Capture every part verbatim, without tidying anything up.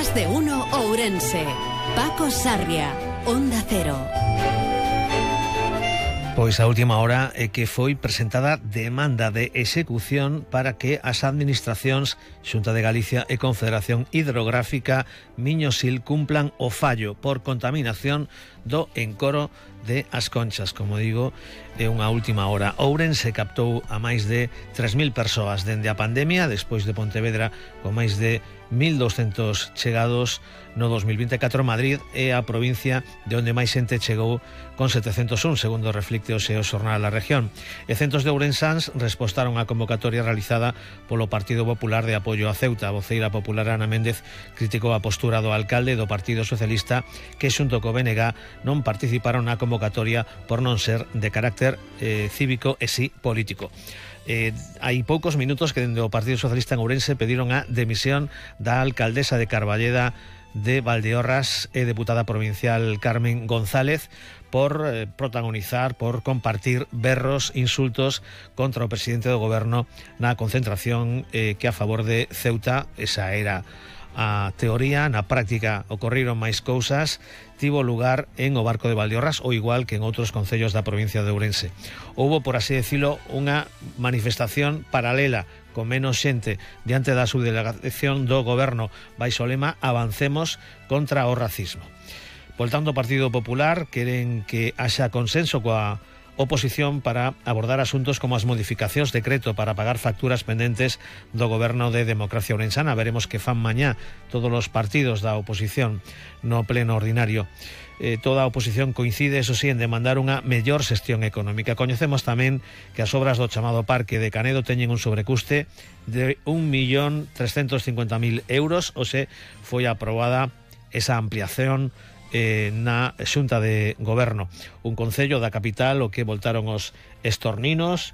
Más de uno Ourense. Paco Sarria, Onda Cero. Pois a última hora é que foi presentada demanda de execución para que as administracións Xunta de Galicia e Confederación Hidrográfica Miño-Sil cumplan o fallo por contaminación do encoro de As Conchas. Como digo, é unha última hora. Ourense captou a máis de tres mil persoas dende a pandemia, despois de Pontevedra con máis de mil doscientos chegados no dos mil vinte e catro. Madrid é a provincia de onde máis xente chegou con setecentos un, segundo reflicte o Xeo Xornal da Región. E centos de ourensáns respostaron á convocatoria realizada polo Partido Popular de apoio a Ceuta. A voceira popular Ana Méndez criticou a postura do alcalde do Partido Socialista, que xunto co B N G non participaron na convocatoria por non ser de carácter eh, cívico e sí político. Eh, hai poucos minutos que dende o Partido Socialista en Ourense pediron a demisión da alcaldesa de Carballeda de Valdeorras e deputada provincial Carmen González por eh, protagonizar, por compartir berros, insultos contra o presidente do goberno na concentración eh, que a favor de Ceuta. Esa era a teoría. Na práctica ocorriron máis cousas. Tivo lugar en o Barco de Valdeorras, ou igual que en outros concellos da provincia de Ourense. Houbo, por así decirlo, unha manifestación paralela con menos xente diante da subdelegación do goberno baixo o lema Avancemos contra o racismo. Por tanto, o Partido Popular queren que haxa consenso coa oposición para abordar asuntos como as modificacións de decreto para pagar facturas pendentes do goberno de Democracia Ourensana. Veremos que fan mañá todos os partidos da oposición no pleno ordinario. Eh, toda a oposición coincide, eso sí, en demandar unha mellor xestión económica. Coñecemos tamén que as obras do chamado Parque de Canedo teñen un sobrecuste de un millón trescentos cincuenta mil euros, ou se foi aprobada esa ampliación Eh, na Xunta de Goberno. Un concello da capital o que voltaron os estorninos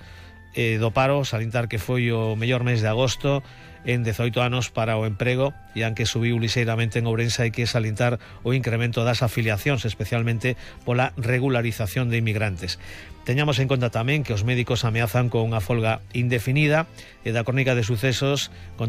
eh, do paro, salientar que foi o mellor mes de agosto en dezoito anos para o emprego, e aunque subiu lixeiramente en Ourense, hai que salientar o incremento das afiliacións, especialmente pola regularización de inmigrantes. Teñamos en conta tamén que os médicos ameazan con unha folga indefinida, e da crónica de sucesos con